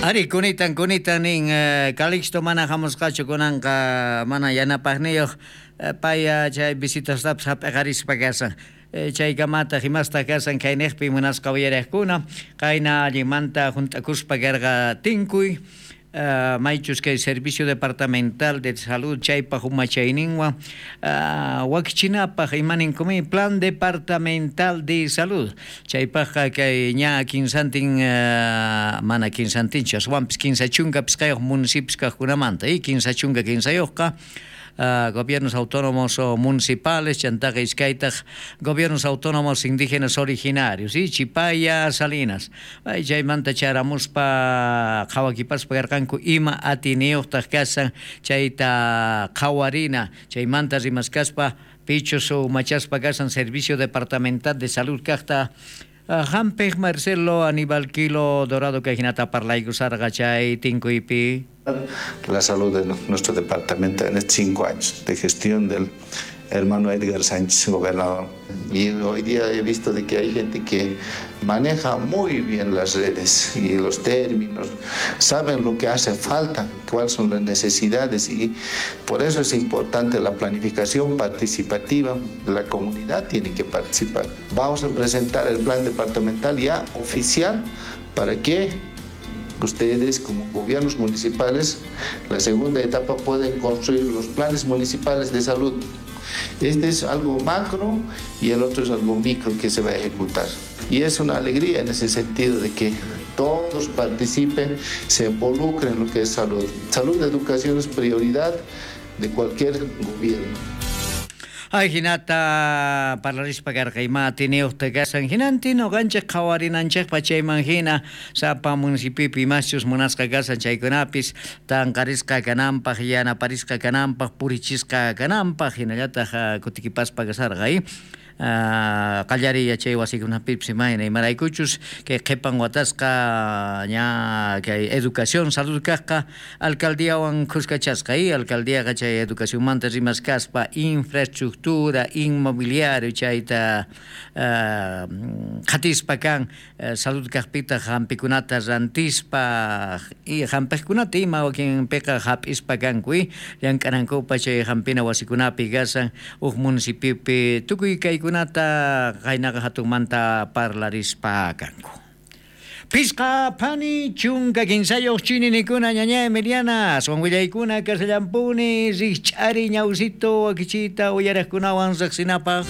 Ari, kunitan, kunitan nin Calixto mana hamusqachu kunanqa mana yanapaqniyuq pay chay visitastapis hap'iqarispa kashan. Chaykamataq imastaq kashan kayniqpi munasqa uyariqkuna qayna allinmanta hunt'akuspa karqa tinkuy maychus kay Servicio Departamental de Salud chaypaq umachayninwan wakichinapaq imaninkumi Plan Departamental de Salud chaypaqqa kay ña kinsantin mana kinsantinchu aswanpis 35 municipios kaqkunamanta y 53 gobiernos autónomos municipales, chantaqa iskaytaq gobiernos autónomos indígenas originarios, y Chipaya, Salinas. Chaymanta charamuspa qhawakipaspa karqanku ima atiniyuqtaq kashan chayta qhawarina, chaymanta rimaskaspa pichus umachaspa kashan Servicio Departamental de Salud kaqta hampiq Marcelo Aníbal Quilo Dorado kay hinata parlaykusarqa chay tinkuypi. La salud de nuestro departamento en estos 5 años de gestión del hermano Edgar Sánchez, gobernador. Y hoy día he visto de que hay gente que maneja muy bien las redes y los términos, saben lo que hace falta, cuáles son las necesidades, y por eso es importante la planificación participativa. La comunidad tiene que participar. Vamos a presentar el plan departamental ya oficial para que ustedes como gobiernos municipales, la segunda etapa, pueden construir los planes municipales de salud. Este es algo macro y el otro es algo micro que se va a ejecutar. Y es una alegría en ese sentido de que todos participen, se involucren en lo que es salud. Salud, educación es prioridad de cualquier gobierno. Ay, hinata parlarispa karqa ima atiniyuqta kashan hinantin uqanchik qhawarinanchikpa chayman hina sapa municipiopi imaschus munasqa kashan chaykunapis tanqarisqa kananpaq yanaparisqa kananpaq purichisqa kananpaq hinallataq kutikipaspa kasarqa qallariy yachay wasikunapipis imayna imaraykuchus kay qhipan watasqa ña kay educación salud kaqqa alcaldiawan khuskachasqa alcaldiaqa chay educacionmanta rimaskaspa infraestructura inmobiliario chayta qhatispa kan salud kaqpitaq hampikunata rantispa y hampiqkunata ima wakinpiqa hap'ispa kanku llank'anankupa chay hampina wasikunapi kashan huk municipiopi tukuy kay kunata qaynaqa hatunmanta parlarispa kanku. Pisqa phani 13 chininikuna ñaña Emiliana, aswan willaykuna kasallampuni rikch'ari ñawsito wakichita uyaraqkunawan riqsinapaq.